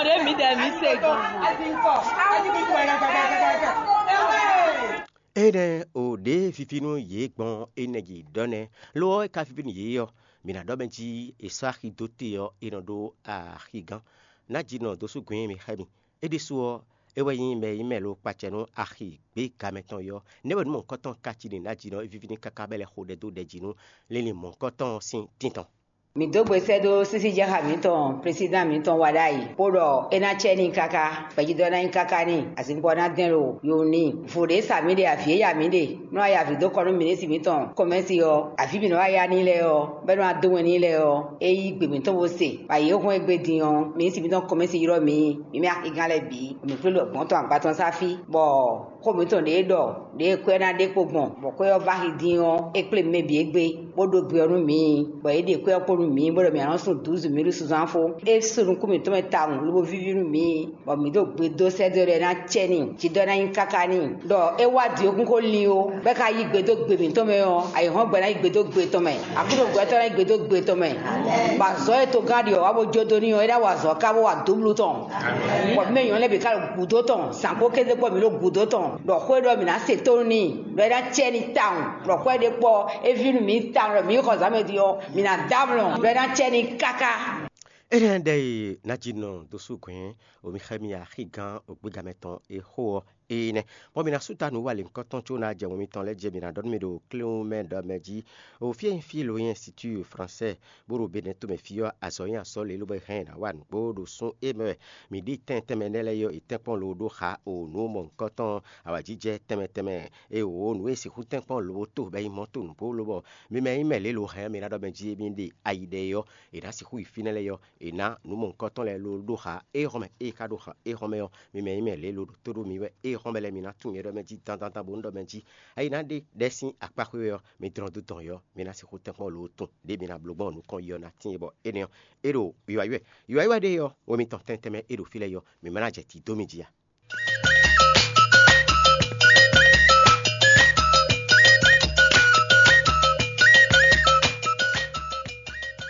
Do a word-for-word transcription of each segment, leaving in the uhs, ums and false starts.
Ɖé mǐdɛɛ mǐ se gbɔn. Énɛ́ o ɖě víví nú yě gbɔn énɛ́ jí ɖɔ nɛ́, lo ɔ́, é ka víví nú yě ɔ́, mǐ ná ɖɔ mɛ jí è sɔ́ axi dó te ɔ́, é nɔ ɖó axigán. Ná jí nɔ dó sú gɔ̌n nyi mì xá mì. É ɖésú ɔ́, é wɛ nyí mɛ e nyí mɛ lo kpacɛ nú axi gběga mɛ tɔn é ɔ́. Nɛ́ wɛ nǔ mɔ̌hunkɔtɔn ka cí n'i ná jí nɔ é víví n'i káká bɔ é lɛ́ xo ɖɛ dó ɖɛ jí nú linlin mɔ̌hunkɔtɔn sín tintɔn. Mǐ dó gbe sɛ́ dó sísíjɛ́xá mǐtɔn, plesídan mǐtɔn wa ɖ'ayǐ, bó ɖɔ é ná cɛ n'i káká, gbɛjidɔ́ ná nyí káká n'i, azinkpo ɔ́ ná dɛn ɖo yo n'i. Vo ɖě sa mǐ ɖe, avǐ e ya mǐ ɖe, nú a ya avǐ dó kɔ nú minisitri mǐtɔn Kɔmɛ́si ɔ́, avǐ mǐ nɔ wá ya n'i lɛ́ɛ ɔ́, bɔ é nɔ wá dó wɛn n'i lɛ́ɛ ɔ́, é yí gbe mǐtɔn bó se, bɔ ayǐ e hɔn é gbe din ɔ́, minisitri mǐtɔn Kɔmɛ́si ylɔ́ mǐ, mǐ mɛ axigán lɛ́ɛ bǐ, bɔ mǐ kplé ɖo gbɔ̌n tɔn agba tɔn sá fí, bɔ xó mǐtɔn ɖě ɖɔ ɖěe kwɛ́ ná ɖe kpo gbɔn, bɔ kwɛ́ ɔ́ vá axi dín ɔ́, é kplé mɛ bǐ égbé, bó ɖó gbe ɔ́ nú mǐ, bɔ yě ɖe kwɛ́ ɔ́ kpo nú mǐ, bó ɖɔ mǐ ná nɔ́ sun dǔzú mǐ ɖo sunzán fó. É sú nukún mǐtɔn mɛ tawun, lobo víví nú mǐ, bɔ mǐ ɖo gbe dó sɛ́ dó ɖɔ é ná cɛ n'i, jǐ ɖɔ é ná nyí káká n'i, ɖɔ é wá dǐ ó kún xó lin ó, bɔ é ka yí gbe dó gbe mǐtɔn mɛ ɔ́, ayǐhɔ́ngbe ná yí gbe dó gbe tɔn mɛ, aklúnɔgbɛ́tɔ́ ná yí gbe dó gbe tɔn mɛ, bɔ azɔ̌ e togán ɖi ɔ́ wá bó jó dó n'i ɔ́, é ná wa azɔ̌ ká bó wa dǒblú tɔn. Bɔ mɛ nyɔ̌ lɛ́ɛ bǐ ká ɖo gǔdo tɔn, zǎn kpó kéze kpó mǐ ɖo gǔdo tɔn, ɖɔ xó e ɖɔ mǐ ná se tónú n'i, ɖɔ é ná cɛ n'i tawun, ɖɔ xó e ɖe kpɔ́ é ví nú mǐ tawun, ɖɔ mǐ yi xɔ zǎn mɛ din ɔ́, mǐ ná dɔ́ amlɔ, ɖɔ é ná cɛ n'i káká. Énɛ́ ɖɛ e ná jí nɔ dó sú gɔ̌n, omi xá mì axigán ògbégamɛ tɔn e xó ɔ́, énɛ́. Bɔ mǐ ná sú ta nǔ wa lěhunkɔtɔn có ná jɛ wɛn mitɔn lɛ́ɛ jí, mǐ ná ɖɔ nú mi ɖo kléwún mɛ ɖɔ mɛ jí, o fí e nyí fí lo nyí Ɛnsitúu Fransɛ́ɛ, bó ɖo Benɛ́ tomɛ fí ɔ́, azɔ̌ nyí azɔ̌ lě ló bɔ é hɛn ná wa nǔgbó ɖo sún e mɛ wɛ mǐ ɖi tɛn tɛnmɛ nɛ́ lɛ́ɛ é ɔ́, è tɛ́nkpɔ́n lo ɖó xa o nǔ mɔ̌hunkɔtɔn awǎjijɛ tɛnmɛ tɛnmɛ e wǒ nǔ e sixú tɛ́nkpɔ́n lo to bɔ é nyí mɔ̌ to nǔgbó lobɔ mi mɛ e nyí mɛ lě lo hɛn mi ná ɖɔ mɛ jí mi ɖe ayi ɖɛ é ɔ́, è nǎ sixú yi fínɛ́ lɛ́ɛ ɔ́, è nǎ nǔ mɔ̌hunkɔtɔn lɛ́ɛ lo ɖó xa éhɔ́n mɛ. Ée é ka ɖó xa éhɔ́n mɛ ɔ́, mi mɛ e nyí mɛ lě lo ɖo tó ɖó mi wɛ éhɔ́n mɛ lɛ́ɛ mi ná tunwun nyɛ ɖɔ mɛ jí dandandan bó nú ɖɔ mɛ jí. Ayi ná ɖe ɖɛ̌ sín akpá xwé wɛ ɔ́, mi dlɔ́n dó dɔn yɔ́, mi ná sixú tɛ́nkpɔ́n lo tun ɖěe mi ná bló gbɔn nukɔn yi ɔ́ ná tíin bɔ énɛ́ ɔ́, é ɖo wiwa yi wɛ. Wiwa yi wɛ ɖe ɔ́, we mitɔn tɛntɛn mɛ é ɖo fí lɛ́ɛ yɔ́, mǐ ma ná jɛ tǐ dó mi jí a?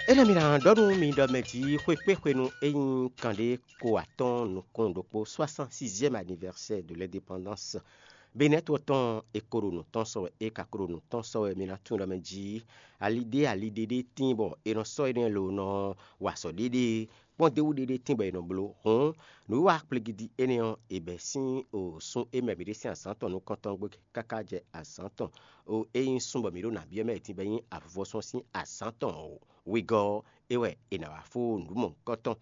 Énɛ́ mi ná ɖɔ nú mi ɖɔ mɛ jí xwekpéxwenu e nyí kanɖé ko atɔ́ɔ́n nukún ɖokpó, soixante-sixième anniversaire de l'indépendance. Benɛ́ to ɔ́ tɔn e ko ɖo nǔ tɔn sɔ wɛ, e ka ko ɖo nǔ tɔn sɔ wɛ, mi ná tunwun ɖɔ mɛ jí ali ɖé ali ɖé ɖé tíin bɔ è nɔ sɔ́ énɛ́ lo nɔ wa azɔ̌ ɖéɖée kpɔ́n d'é wú ɖéɖée tíin bɔ è nɔ bló. Hǔn nǔwiwa kplígídí énɛ́ ɔ́, è bɛ̌ sín o sun e mɛ mǐ ɖe sín azǎn tɔn nukɔntɔn gbe káká jɛ azǎn tɔn o e nyí sun bɔ mǐ ɖo nǎ byɔ́ mɛ e tíin bɔ é nyí avuvɔsɔ́ sín azǎn tɔn wegɔ́ ɔ́, é wɛ è nǎ wá fó nǔ mɔ̌hunkɔtɔn.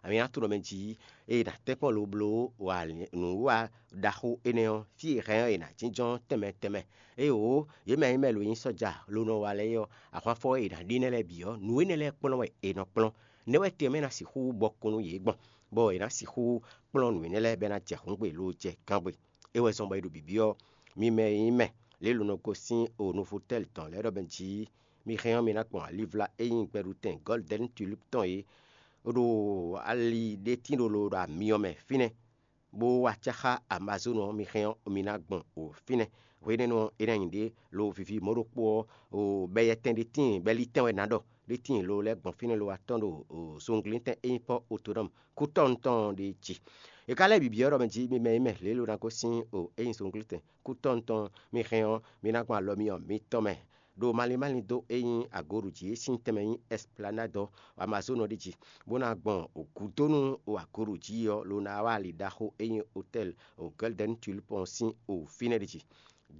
Ami ná tunwun ɖɔ mɛ jí ée è nǎ tɛ́nkpɔ́n lobló wa nǔwiwa ɖaxó énɛ́ ɔ́, fí e hɛn ɔ́ è nǎ jínjɔ́n tɛnmɛ tɛnmɛ. Éeǒ, yě mɛ e nyí mɛ lo nyí sɔ́ja lo nɔ wa lɛ́ɛ é ɔ́, ahwanfɔ e è nǎ ɖe énɛ́ lɛ́ɛ bǐ ɔ́, nǔ énɛ́ lɛ́ɛ kplɔ́n wɛ è nɔ kplɔ́n. Nɛ̌ wɛ tɛnmɛ ná sixú bɔ kún nú yě gbɔn, bɔ è nǎ sixú kplɔ́n nǔ énɛ́ lɛ́ɛ bɔ é ná jɛ hǔngbe lo jɛ gángbe? É wɛ zɔn bɔ è ɖo bǐbí ɔ́, mi mɛ e nyí mɛ lě lo nɔ gosín o Nofotɛ́li tɔn lɛ́ɛ ɖɔ mɛ jí mi hɛn ɔ́, mi ná gbɔn alivla e nyí gbɛɖutɛn Gɔ́lidɛ́ni Tulípu tɔn é ɖo ali ɖé tín ɖolo ɖo amyɔ mɛ fínɛ́, bó wá cáxá Amazónu ɔ́, mi hɛn ɔ́, mi ná gbɔn o fínɛ́. Hwenɛ́nu ɔ́, é ná nyí ɖě lo vivi mɔ̌ ɖokpó ɔ́, o bɛyɛtɛn ɖé tíin, bɛlítɛn wɛ ná ɖɔ, ɖé tíin lo lɛ́ gbɔn fínɛ́ lo wá tɔ́n ɖo o zunglítɛn e nyí Pɔ́ Otonɔ́mu kútɔ́nu tɔn ɔ́ ɖe jí. È ka lɛ́ bǐbí ɔ́ ɖɔ mɛ jí mi mɛ e mɛ lě lo ná gosín o é nyí zunglítɛn kútɔ́nu tɔn mi hɛn ɔ́, mi ná gbɔn alɔ myɔ mitɔn mɛ ɖo malín málín dó e nyí agoɖu jí e sín tɛnmɛ nyí Ɛsplanádɔ Amazónu ɔ́ ɖi jí, bó ná gbɔn gǔdónú agoɖu jí ɔ́, lo ná wá ali ɖaxó e nyí Otɛ́li Gɔ́lidɛ́ni Tulípu ɔ́ sín o fínɛ́ ɖi jí.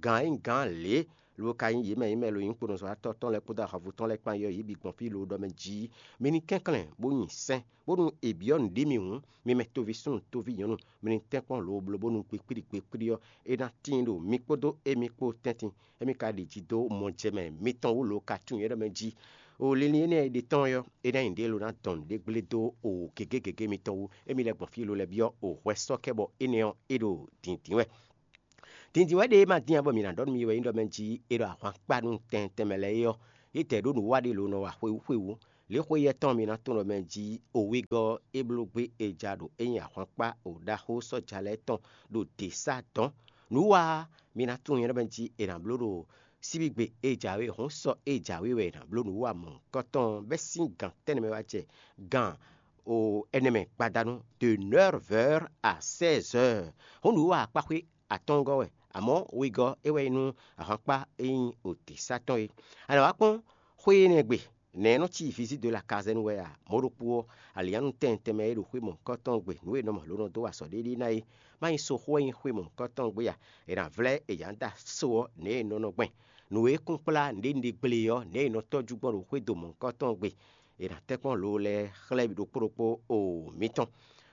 Gǎn e nyí gǎn lě lobo ka nyí yě mɛ nyí mɛ lo nyí kponɔzɔ́watɔ́ tɔn lɛ́ɛ kpódó ahwanvú tɔn lɛ́ɛ kpán yɔ́ yě bǐ gbɔn fí lo ɖɔ mɛ jí mi ní kɛnklɛ́n bó nyi sɛ́n, bónú è byɔ́ nǔɖé mi hǔn, mi mɛ toví súnnu toví nyɔ̌nu, mi ní tɛ́nkpɔ́n lo bló bónú kpikpíɖi kpikpíɖi ɔ́, é ná tíin ɖo mi kpódó émí kpó tɛ́ntin. Émí ka ɖi jí dó mɔjɛmɛ mitɔn wú lo ka tunwun nyɛ ɖɔ mɛ jí. O linlin énɛ́ e ɖe tɔn ɔ́, é ná nyí ɖě lo ná dɔn nǔɖé gblé dó o gěgé gěgé mitɔn wú. Émí lɛ́ gbɔn fí lo lɛ́ byɔ́ o hwɛ sɔ́ kɛ bɔ énɛ́ ɔ́, é ɖo dǐndín wɛ. Dǐndín wɛ ɖě e ma dín ǎ bɔ mǐ ná ɖɔ nú mi wɛ nyí ɖɔ mɛ jí é ɖɔ ahwankpá nú tɛn tɛnmɛ lɛ́ɛ é ɔ́, yě tɛ ɖó nǔ wa ɖé lo nɔ wa xwewú xwewú. Lě xweyɛ́ tɔn mi ná tunwun ɖɔ mɛ jí o wegɔ́ é bló gbé e ja ɖo é nyí ahwankpá o ɖaxó sɔ́ja lɛ́ɛ tɔn ɖo dě sá dɔ̌n. Nǔ wa ɔ́, mi ná tunwun nyɛ ɖɔ mɛ jí è nǎ bló ɖo síbígbe e jǎwe hǔn sɔ e jǎwe wɛ è nǎ bló nǔ wa mɔ̌hunkɔtɔn bɛ́ sín gǎn tɛ́nnɛ mɛ wá jɛ gǎn o ɛnɛ mɛ gbadanu de neuf heures à seize heures. Hǔn nǔwiwa akpáxwé atɔ́ɔ́ngɔ́ wɛ, amɔ̌ wegɔ́ é wɛ nyí nú ahwankpá e nyí otǐsatɔ́ é. A nǎ wá kpɔ́n xwé énɛ́ gbe, nɛ̌ é nɔ cí visite de la caserne wɛ a? Mɔ̌ ɖokpó ɔ́, alǐannu tɛnmɛ tɛnmɛ e ɖo xwé mɔ̌hunkɔtɔn gbe nǔ e è nɔ mɔ lǒ nɔ dó wa azɔ̌ ɖé ɖíe ná é, má nyí soxó wɛ nyí xwé mɔ̌hunkɔtɔn gbe a? È nǎ vlɛ́ è yǎ da so ɔ́ nɛ̌ è nɔ nɔ gbɛn. Nǔ e kún kplá nǔɖénúɖé gble ɔ́, nɛ̌ è nɔ tɔ́jú gbɔn ɖo xwédo mɔ̌hunkɔtɔn gbe. È nǎ tɛ́nkpɔ́n lo lɛ́ɛ xlɛ́ ɖokpó ɖokpó o mitɔn.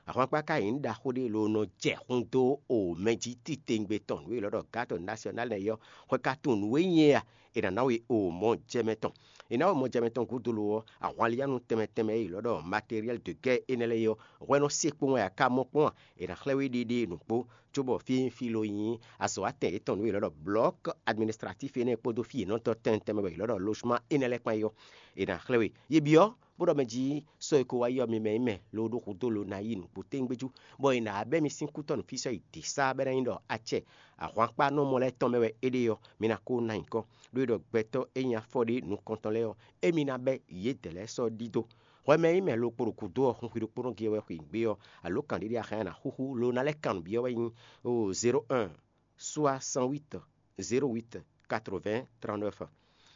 Ahwankpá ka nyí nǔ ɖaxó ɖé lo nɔ jɛ xun dó o mɛ jí titewungbe tɔn nǔ e è nɔ ɖɔ gǎtɔ nasyɔnál nɛ́ ɔ́, hwɛ ka tunwun nǔ e nyí é a? È nǎ ná we o mɔjɛmɛ tɔn. È nǎ we mɔjɛmɛ tɔn gúdo lo ɔ́, ahwanlíyanu tɛnmɛ tɛnmɛ e è nɔ ɖɔ matériel de guerre énɛ́ lɛ́ɛ é ɔ́, hwɛ nɔ se kpowun wɛ a ka mɔ kpɔ́n a? È nǎ xlɛ́ we ɖéɖéenu kpó, cóbɔ fí e nyí fí lo nyí azɔ̌watɛn yětɔn nǔ e è nɔ ɖɔ blɔ̌k administratif énɛ́ kpódó fí yěnɔ́tɔ́ tɛnmɛ tɛnmɛ bɔ è nɔ ɖɔ losman énɛ́ lɛ́ɛ kpán é ɔ́, è nǎ xlɛ́ we. Yě byɔ́ bó ɖɔ mɛ jí sɔ́ e ko wá yi ɔ́, mi mɛ nyí mɛ loo ɖó xudó lo ná yi nǔgbó téŋgbéjú, bɔ è nǎ bɛ́ mi sín kútɔ́ nǔfisɔ́ yi dě sá bɔ é ná nyí ɖɔ acɛ ahwankpánɔmɔ lɛ́ɛ tɔn mɛ wɛ é ɖe ɔ́, mi ná ko ná nyǐkɔ. Ɖó é ɖɔ gbɛtɔ́ e nyí afɔ ɖé nukɔntɔn lɛ́ɛ ɔ́, émí ná bɛ́ yědɛɛ lɛ́ɛ sɔ́ ɖidó. Hwɛ mɛ e nyí mɛ lo kpo ɖo gǔdo ɔ́, hun hwi ɖokpónɔ gé wɛ xweyǐgbe ɔ́, alo kǎnɖíɖí axan e a nǎ xúxú lo ná lɛ́ kan nǔ byɔ́ wɛ nyí o zéro un soixante-huit zéro huit quatre-vingts trente-neuf,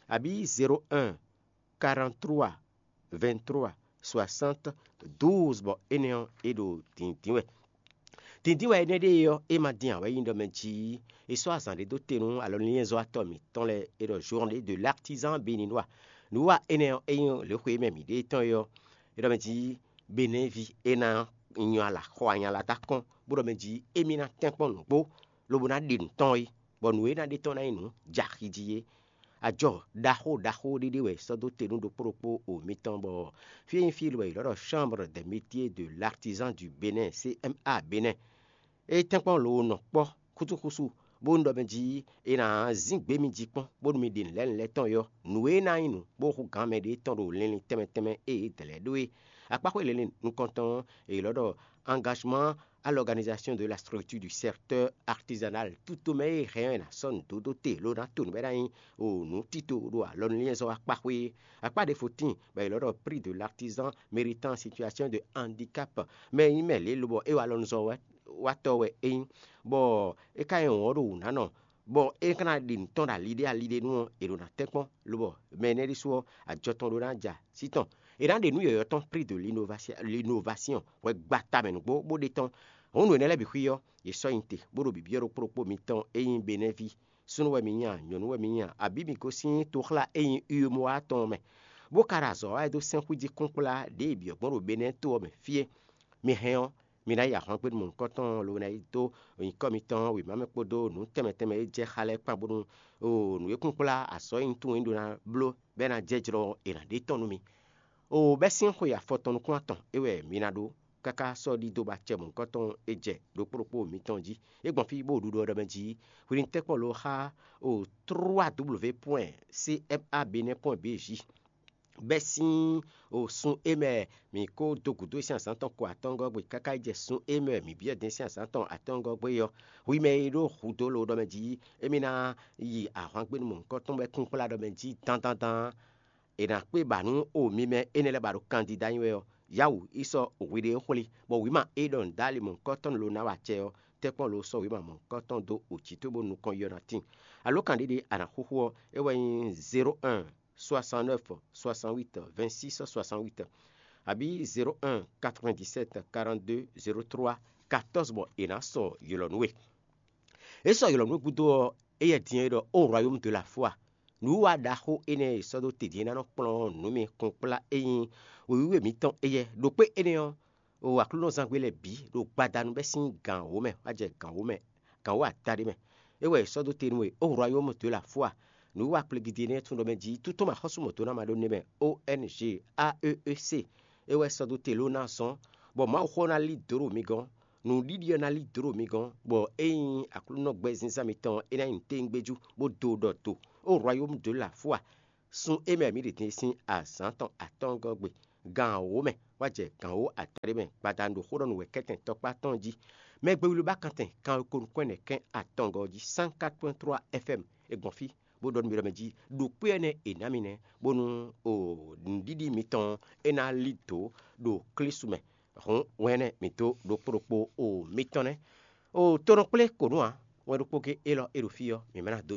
abǐ zéro un quarante-trois vingt-trois soixante douze, bɔ énɛ́ ɔ́, é ɖo dǐndín wɛ. Dǐndín wɛ énɛ́ ɖée ɔ́, é ma dín ǎ wɛ nyí ɖɔ mɛ jí è sɔ́ azǎn ɖé dó te nú alɔnlínyɛ́zɔ́watɔ́ mǐtɔn lɛ́ɛ e ɖɔ Journée de l'Artisan Béninois. Nǔwiwa énɛ́ ɔ́, é nyí lěxwe e mɛ mǐ ɖe tɔn é ɔ́, é ɖɔ mɛ jí Benɛ́vi é ná nyɔ ala xɔ anyala dó akɔ́n, bó ɖɔ mɛ jí émí ná tɛ́nkpɔ́n nǔgbó, lobo ná ɖe nǔ tɔn é, bɔ nǔ e ná ɖe tɔn ná nyí nǔ jɛ axi jí é. Ajɔ ɖaxó ɖaxó ɖé ɖé wɛ è sɔ́ dó te nú ɖokpó ɖokpó o mitɔn, bɔ fí e nyí fí e è nɔ ɖɔ Chambre des Métiers de l'Artisan du Bénin, C M A Bénin. É tɛ́nkpɔ́n lo nɔ kpɔ́ xúsúxúsú, bónú ɖɔ mɛ jí è nǎ zín gbě mi jí kpɔ́n, bónú mi ɖi nǔ lɛ́ɛ nǔ lɛ́ɛ tɔn é ɔ́, nǔ e ná nyí nǔ bó hú gǎn mɛ ɖě tɔn ɖo linlin tɛnmɛ tɛnmɛ e è dlɛ̌ ɖó é. Akpáxwé linlin nukɔntɔn ɔ́, è nɔ ɖɔ engagement à l'organisation de la structure du secteur artisanal. Tutomɛ e hɛn ɔ́ è nǎ sɔ́ nǔ dó dó te, lo ná to nǔ bɔ é ná nyí o nǔ tito ɖo alɔnulínnyɛ́zɔ́ akpáxwé é. Akpá ɖěvo tíin bɔ è nɔ ɖɔ prix de l'artisan méritant situation de handicap. Mɛ e nyí mɛ lě lobɔ é wa alɔnuzɔ́watɔ́ wɛ é nyí, bɔ é ka nyí wɔ̌n ɖo wǔ ná nɔ, bɔ é ka ná ɖi nǔ tɔn ɖo ali ɖé ali ɖé nu ɔ́, è ɖo ná tɛ́nkpɔ́n, lobɔ mɛ énɛ́ ɖésú ɔ́, ajɔ tɔn ɖó ná ja sí tɔn. È nǎ ɖe nǔ yɔ̌yɔ́ tɔn prix de l'innovation, hwɛ gbata mɛ nǔgbó bó ɖe tɔn. Hǔn nǔ énɛ́ lɛ́ɛ bǐ xwí ɔ́, è sɔ́ nyi te, bó ɖo bǐbyɔ́ ɖokpó ɖokpó mitɔn e nyí Benɛ́ví. Súnnu wɛ mi nyí a, nyɔ̌nu wɛ mi nyí a, abǐ mi gosín toxlá e nyí Uyomowa tɔn ɔ́ mɛ, bó ka ɖo azɔ̌ wa wɛ dó sɛ́n xwíjí kpɔ́nkplá ɖěe è byɔ̌ gbɔn ɖo Benɛ́ to ɔ́ mɛ fí é. Mi hɛn ɔ́, mi ná yi ahwangbénu mɔ̌hunkɔtɔn lobo ná yi dó nyǐkɔ mitɔn wěma mɛ kpódó nǔ tɛnmɛ tɛnmɛ e jɛ xá lɛ́ɛ kpán bónú nǔ e kún kplá azɔ̌ e nyí tunwun é ɖó ná bló bɔ é ná jɛ́ jlɔ́ ɔ́, è nǎ ɖe tɔ́n nú mi. Oo, bɛ́ sín xwe afɔtɔn nukún atɔn é wɛ mi ná ɖó, káká sɔ́ ɖidó ba acɛ mɔ̌hunkɔtɔn e jɛ ɖokpó ɖokpó mitɔn jí. É gbɔn fí bó ɖuɖu ɔ́ ɖɔ mɛ jí hwenu tɛ́nkpɔ́n lo xá o trois w point c m a benin point b j. Bɛ́ sín o sun e mɛ mǐ ko dó gǔdo sín azǎn tɔn ko atɔ́ngɔ́ gbe káká yi jɛ sun e mɛ mǐ byɔ́ din sín azǎn tɔn atɔ́ngɔ́ gbe ɔ́, hwi mɛ e ɖó hudó lo ɖɔ mɛ jí émí ná yi ahwangbénu mɔ̌hunkɔtɔn bɔ é kún kplá ɖɔ mɛ jí dandandan. È nǎ kpé ba nú o mi mɛ énɛ́ lɛ́ɛ ba ɖo kandida nyi wɛ ɔ́, Yawu yi sɔ́ hwiɖée xwlé, bɔ wǐma e ɖɔ nǔdáli mɔ̌hunkɔtɔn lo ná wa acɛ ɔ́, tɛ́nkpɔ́n lo sɔ́ wǐma mɔ̌hunkɔtɔn dó o jǐ towe bónú nukɔn yi ɔ́ ná tíin. Alǒkan ɖé ɖé a nǎ xúxú ɔ́, é wɛ nyí zéro un soixante-neuf soixante-huit vingt-six soixante-huit, abǐ zéro un quatre-vingt-dix-sept quarante-deux zéro trois quatorze, bɔ è nǎ sɔ ylɔ̌ nú we. É sɔ́ ylɔ̌ nú gúdo ɔ́, éyɛ́ din e ɖɔ: Ó Royaume de la foi, nǔwiwa ɖaxó énɛ́ e è sɔ́ dó te din é ná nɔ kplɔ́n nǔ mi kplɔ́nkplá e nyí wěwíwe mǐtɔn éyɛ́. Ɖo kpé énɛ́ ɔ́, o aklúnɔzángbé lɛ́ɛ bǐ ɖo gbadanu bɛ́ sín gǎn wǒ mɛ wá jɛ gǎn wǒ mɛ, gǎn wǒ adaɖé mɛ. É wɛ è sɔ́ dó te nú we: Ó Royaume de la foi, nǔwiwa kplegidi énɛ́ tún ɖɔ mɛ jí tún tɔn ma xɔ́sú mɔ̌ dó ná ma ɖó nɛ́ mɛ. O N G A E E C, é wɛ sɔ́ dó te ló ná zɔ́n, bɔ Mawuxó ná lí dǒ ɖo mi gɔ́n. Nǔɖiɖi ɔ́ ná lí dǒ ɖo mi gɔ́n, bɔ é nyí Aklúnɔ gbɛzínzán mitɔn é ná nyí nǔtɛ́ngbéjú, bó dó ɖɔ do. Ó Royaume de la foi, sun e mɛ mǐ ɖe din sín azǎn tɔn atɔ́ɔ́ngɔ́ gbe, gan wǒ mɛ wá jɛ gan wǒ adaɖé mɛ gbadanu ɖo xó ɖɔ nú wɛ kɛ́tɛn tɔkpá tɔn jí. Mɛ gbe wlí ba kantɛn kan ko nukɔn ɛnɛ kɛn atɔngɔ́ jí cent quatre point trois F M. È gbɔn fí bó ɖɔ nú mi ɖɔ mɛ jí ɖo kpé énɛ́ e è nǎ mi nɛ́, bónú o nǔɖiɖi mitɔn ɔ́, é ná lí dǒ ɖo Klísu mɛ. Hǔn wɛn énɛ́ mǐ dó ɖokpó ɖokpó o mitɔn nɛ́. O to nɔ kplé kǒ nú ǎ, wɛn ɖokpó gé élɔ́ e ɖo fí ɔ́, mǐ ma ná dó